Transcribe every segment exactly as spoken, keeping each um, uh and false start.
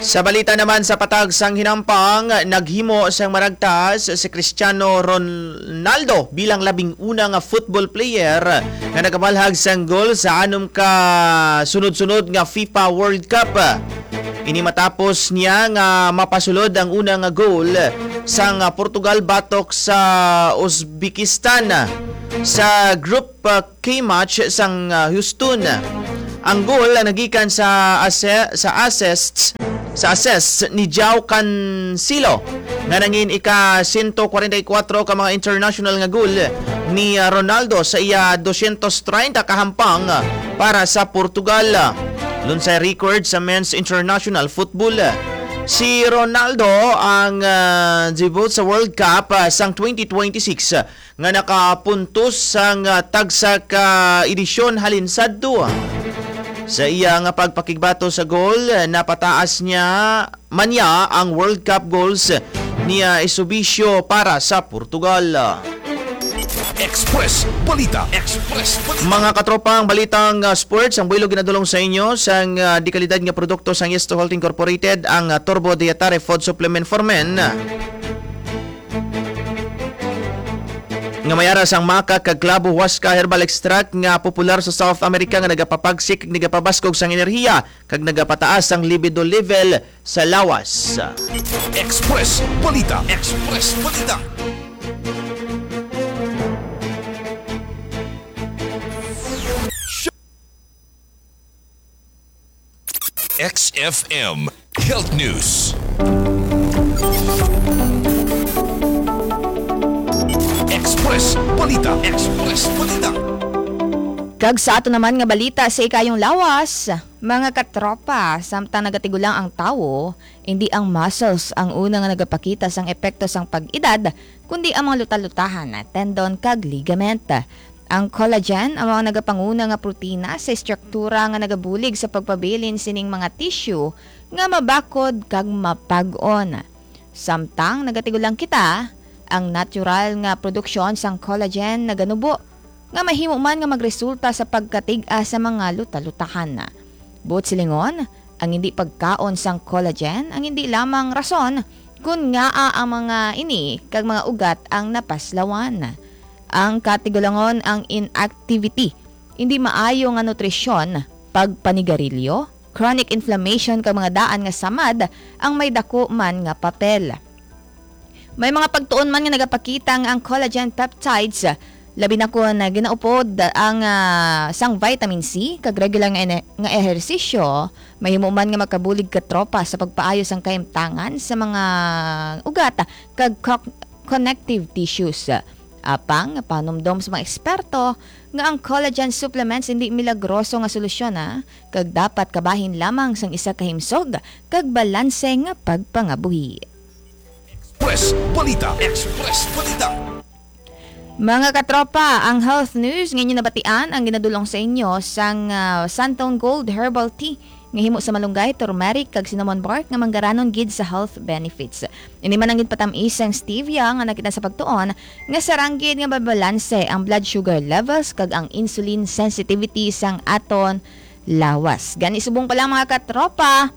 Sa balita naman sa patag sang hinampang, naghimo sang maragtas si Cristiano Ronaldo bilang labing una nga football player nga nakabalhag sang goal sa anom ka sunod-sunod nga FIFA World Cup. Ini matapos niya nga mapasulod ang una nga goal sang Portugal batok sa Uzbekistan sa Group K match sang, ah, Houston. Ang goal nagikan sa ase-, sa assists, sa assists ni João Cancelo, nga nangin ika sento kwarenta y kuwatro ka mga international nga goal ni, ah, Ronaldo sa iya dosyentos treinta ka hampang, ah, para sa Portugal. Lunsay record sa men's international football. Si Ronaldo ang, ah, debut sa World Cup, ah, sang twenty twenty-six, ah, nga nakapuntos sang, ah, tagsa ka edisyon halin sadto. Sa iya nga pagpakigbato sa goal, napataas niya man niya ang World Cup goals ni, ah, Eusebio para sa Portugal. Express Balita. Express Balita. Mga katropa, ang balitang, ah, sports, ang buhilo ginadulong sa inyo sang, ah, dekalidad nga produkto sang Yesto Health Incorporated, ang, ah, Turbo Dietary Food Supplement for Men. Nga may ara sang maca kag clavo huasca herbal extract nga popular sa South America nga nagapapagsik kag nagapabaskog sang enerhiya kag nagapataas sang libido level sa lawas. Express Balita. Express Balita. X F M Health News. Express Balita. Express Balita. Kag sa ato naman nga balita sa ikayong lawas, mga katropa, samtang nagatigulang ang tawo, hindi ang muscles ang una nga nagapakita sang epekto sang pag-edad, kundi ang mga luta-lutahan, tendon, kag ligament. Ang collagen amo ang nagapanguna nga protina sa estruktura nga nagabulig sa pagpabilin sining mga tissue nga mabakod kag mapag-on. Samtang nagatigulang kita, ang natural nga produksyon sang collagen naganubo nga mahimo man nga magresulta sa pagkatig-a sa mga luta-lutahan. Buot silingon, ang hindi pagkaon sang collagen ang hindi lamang rason kon ngaa ang mga ini kag mga ugat ang napaslawan. Ang katigulangon, ang inactivity, hindi maayo nga nutrisyon, pagpanigarilyo, chronic inflammation kag mga daan nga samad ang may dako man nga papel. May mga pagtuon man nga nagapakita nga ang collagen peptides, labi na kon ginaupod ang, ah, sang vitamin C kag regular nga ene-, nga ehersisyo, mahimo man nga makabulig, katropa, sa pagpaayo sang kahimtangan sa mga ugat kag co-, connective tissues. Apang panumdom sa mga eksperto nga ang collagen supplements hindi milagroso nga solusyon, ah, kag dapat kabahin lamang sang isa ka himsog kag balanse nga pagpangabuhi. Express Balita. Express Balita. Mga katropa, ang health news nga inyo nabatian ang ginadulong sa inyo sang, ah, Santone Gold Herbal Tea nga himo sa malunggay, turmeric, kag cinnamon bark nga manggaranon gid sa health benefits. Ini man ang ginpatamis sang stevia nga nakita sa pagtuon nga sarang gid nga mabalanse ang blood sugar levels kag ang insulin sensitivity sang aton lawas. Gani, subong pa lang, mga katropa,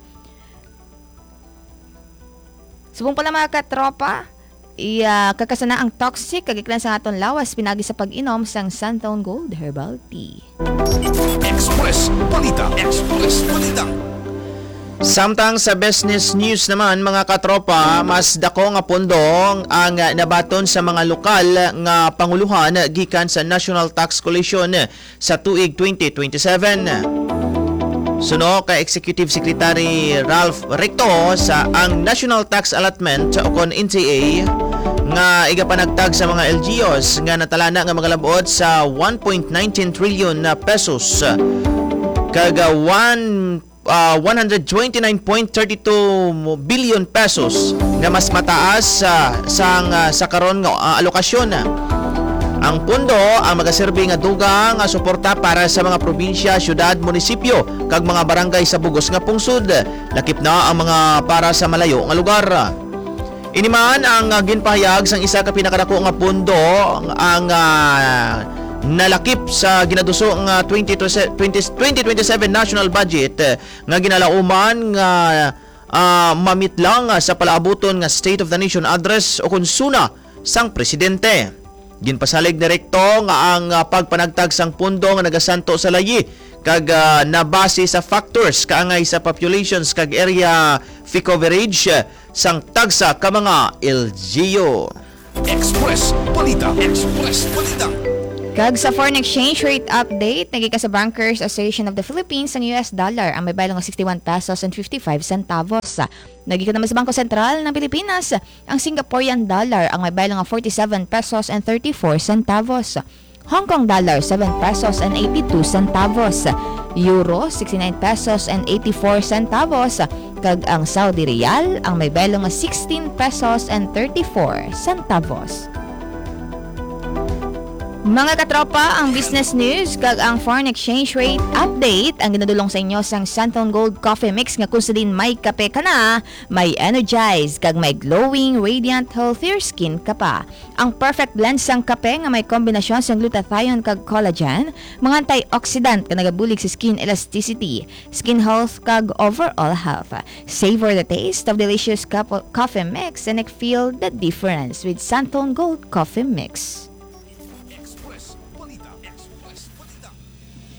Subong pala, mga katropa, iya, kakasana ang toxic kag iklan sa aton lawas pinagi sa pag-inom sang Santone Gold Herbal Tea. Express Balita. Express Balita. Samtang sa business news naman, mga katropa, mas dako nga pondo ang nabaton sa mga lokal nga panguluhan gikan sa National Tax Coalition sa tuig twenty twenty-seven. Suno kay Executive Secretary Ralph Recto, sa ang National Tax Allotment o kon N T A nga igapanagtag sa mga L G Us nga natalana nga magalabot sa one point nineteen trillion na pesos kag, ah, one, ah, one hundred twenty-nine point thirty two billion pesos nga mas mataas, ah, sang, ah, sa karon nga, ah, alokasyon. Ang pondo ang magaserbi nga dugang nga suporta para sa mga probinsya, syudad, munisipyo, kag mga barangay sa bugos nga pungsod, lakip na ang mga para sa malayo nga lugar. Ini man ang, ah, ginpahayag sang isa ka pinakadako nga pondo ang, ah, nalakip sa ginaduso nga twenty twenty, twenty twenty-seven national budget, eh, nga ginalauman nga ah, mamitlang, ah, sa palaabuton nga State of the Nation Address o kon SONA sang presidente. Ginpasalig ni Recto nga ang, ah, pagpanagtag sang pondo nga nagasanto sa layi kag, ah, nabase sa factors kaangay sa populations kag area fee coverage, ah, sang tagsa ka mga L G U. Express Balita. Express Balita. Kag sa foreign exchange rate update, nagika sa Bankers Association of the Philippines ang U S dollar ang may baylo nga sixty-one pesos and fifty-five centavos. Nagika naman sa Bangko Sentral ng Pilipinas ang Singaporean dollar ang may baylo nga forty-seven pesos and thirty-four centavos. Hong Kong dollar, seven pesos and eighty-two centavos. Euro, sixty-nine pesos and eighty-four centavos. Kag ang Saudi Riyal, ang may baylo nga sixteen pesos and thirty-four centavos. Mga katropa, ang business news kag ang foreign exchange rate update ang ginadulong sa inyo sang Santon Gold Coffee Mix nga kung sa din may kape ka na, may energize, kag may glowing, radiant, healthier skin ka pa. Ang perfect blend sang kape nga may kombinasyon sang glutathione kag collagen, mga antioxidant nga nagabulig sa skin elasticity, skin health, kag overall health. Savor the taste of delicious cup coffee mix and feel the difference with Santon Gold Coffee Mix.